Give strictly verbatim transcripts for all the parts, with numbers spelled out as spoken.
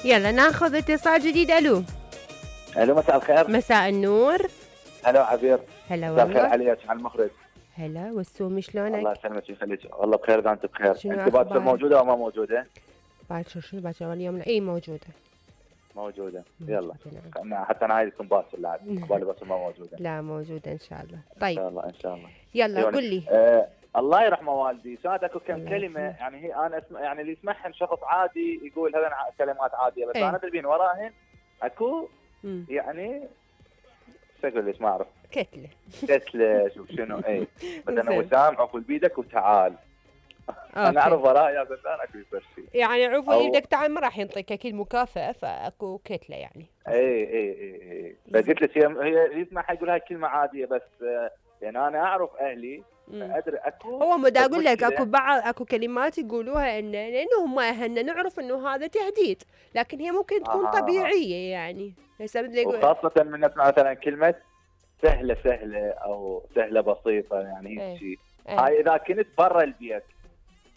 يلا ناخذ اتصال جديد. الو الو مساء الخير. مساء النور. هلا عبير. هلا مساء الخير والله. عليك على المخرج. هلا والسومي شلونك؟ الله يسلمك ويخليك، والله بخير اذا انت بخير. شنو انت باكر أخبارك؟ موجوده او ما موجوده؟ باكر شنو باكر اليوم؟ اي موجوده موجوده. موجودة، يلا نعم. أنا حتى انا عايز اكون باكر بعد، قبالي بس ما موجوده. لا موجوده ان شاء الله. ان طيب شاء الله ان شاء الله. يلا يعني قل لي. آه الله يرحمه والدي، كانت اكو كم الله كلمه يرحمه. يعني هي انا اسمع يعني اللي يسمعهن شخص عادي يقول هذا كلمات عاديه، بس إيه. انا بالبين وراهن اكو مم. يعني شو اقول لك ما اعرف. كتله. كتله شوف شنو اي مثلا زين. وسام عقل بيدك وتعال. انا أوكي. اعرف وراه يا زلمه اكو يصير شيء. يعني عفوا أو- ايدك تعال ما راح ينطيك اكيد مكافاه، فاكو كتله يعني. اي اي اي اي فقلت لك هي هي يسمعها يقول هاي كلمه عاديه، بس آه، يعني انا اعرف اهلي مم. ادري اكو. هو مدا اقول لك مشكلة. اكو بعض اكو كلمات يقولوها ان لانه هم اهلنا نعرف انه هذا تهديد، لكن هي ممكن تكون آه. طبيعيه يعني. هسه بدي اقول وخاصه من نسمع مثلا كلمه سهله سهله او سهله بسيطه يعني إيه. هيك شيء. إيه. هاي اذا كنت برا البيت،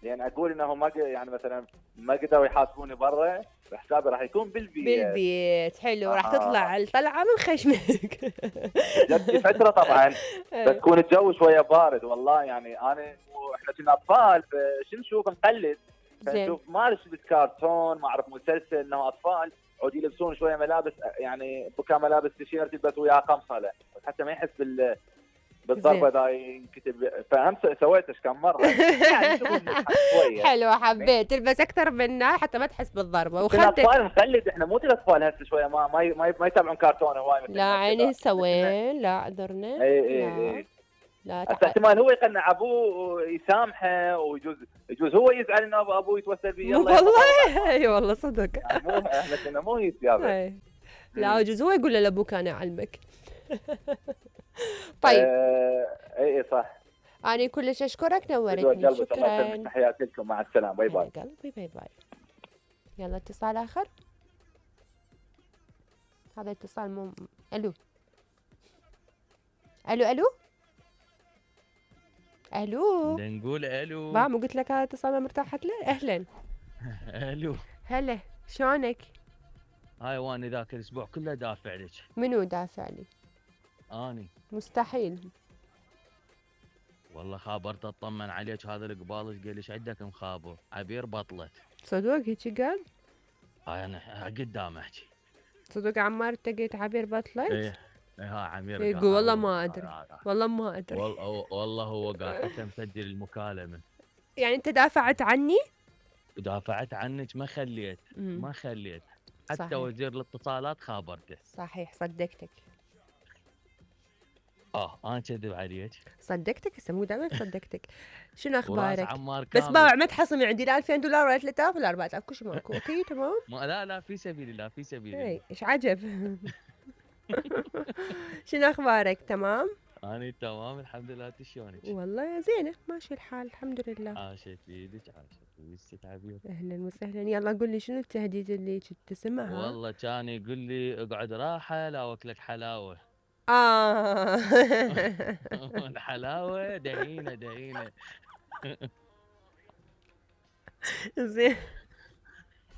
لان اقول انه ما ق- يعني مثلا ما قدروا يحاسبوني برا، حسابي راح يكون بالبيت. بالبيت حلو. راح آه. تطلع الطلعه من خشمك. جت فتره طبعا فتكون الجو شويه بارد، والله يعني انا واحنا كنا اطفال شو نشوف نقلد، زين. فنشوف ما شفت كرتون ما اعرف مسلسل انه اطفال عود يلبسون شويه ملابس يعني بكا ملابس تيشيرت يلبس وياه قمصله حتى ما يحس بال بالضربه ذا ينكتب. فهم سويت ايش كم مره يعني شوف نضحك شويه. حلو حبيت تلبس اكثر منا حتى ما تحس بالضربه كنا وخدت. اطفال نقلد احنا مو الاطفال هسه شويه ما ما ما, ما يتابعون كرتون هواي مثل لا ما عيني كذا. سوين لا اعذرنا. اي اي لا اي لا هسه تح... احتمال هو يقنع ابوه ويسامحه، ويجوز يجوز هو يزعل انه أبو- ابوه يتوسل فيه. يلا والله اي والله صدق. يعني مو احنا كنا مو هيك يابا. إي. لا يجوز هو يقول لابوك انا اعلمك. طيب آه، اي اي صح. انا كلش اشكرك بدو نورتني. قلبك الله شكرا. يسلمك، تحياتي لكم مع السلامه باي باي. يا قلبي باي باي. يلا اتصال اخر. هذا اتصال مو الو الو الو الو بدنا نقول الو. ما مو قلت لك هذا اتصال ما مرتاحت له. اهلا. الو هلا شلونك؟ هاي وانا ذاك الاسبوع كله دافع لك. منو دافع لي؟ اني مستحيل. والله خابرت اطمن عليك، هذا القبال قال ايش عندك مخابر؟ عبير بطلت. صدق هيك قال؟ هاي انا قدام احكي. صدق عمار التقيت عبير بطلت؟ ايه ايه ها عمير يقول قال والله هو- ما ادري آه، آه. والله ما ادري. والله والله هو قال حتى مسجل المكالمه. يعني انت دافعت عني؟ ودافعت عنك ما خليت مم. ما خليت حتى صحيح. وزير الاتصالات خابرته. صحيح صدقتك اه انا كذب عليك. صدقتك هسه مو دائما صدقتك. شنو وراس اخبارك؟ عمار بس كامل. باوع ما تحصمي عندي لا ألفين دولار ولا ثلاثة آلاف ولا أربعة آلاف كل شيء ماكو. اوكي تمام. ما لا لا في سبيل الله في سبيل الله. اي ايش عجب. شنو اخبارك؟ تمام انا تمام الحمد لله. انت شلونك؟ والله زينه ماشي الحال الحمد لله. عاشت ايدك عاشت ويسك عبير. اهلا وسهلا. يلا قول لي شنو التهديد اللي كنت تسمعها؟ والله كان يقول لي اقعد راحه لا واكلك حلاوه. اه. الحلاوه دهينه دهينه. زين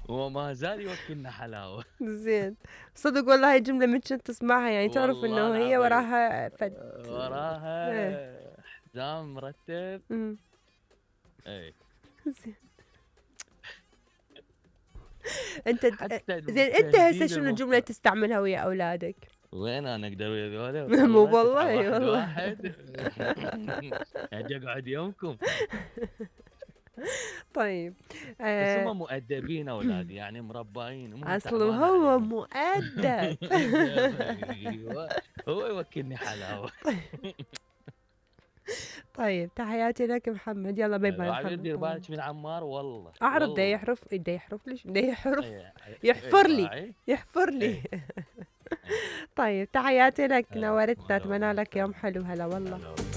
وما زال يوكلنا حلاوه. زين صدق والله هاي الجمله من كنت تسمعها يعني تعرف والله انه هي العظيم. وراها فد. وراها حزام مرتب. امم اي زين. انت حتى زين انت هسه التهديد شنو المفت- الجمله تستعملها ويا اولادك؟ وين انا اقدر ويا ذولا؟ مو والله واحد والله. واحد. اجي اقعد يومكم. طيب بس آه هم مؤدبين اولادي يعني مربعين. هم اصل تعبان هو عليهم. مؤدب. ايوه هو يوكلني حلاوه. طيب تحياتي لك محمد. يلا باي باي عبير دير محمد. بالك من عمار والله. اعرف والله. دا يحرف دا يحرف ليش دا يحرف إيه، إيه، يحفر إيه، لي راعي. يحفر لي. إيه. طيب تحياتي لك هلا، نورتنا هلا اتمنى والله. لك يوم حلو. هلا والله. هلا والله.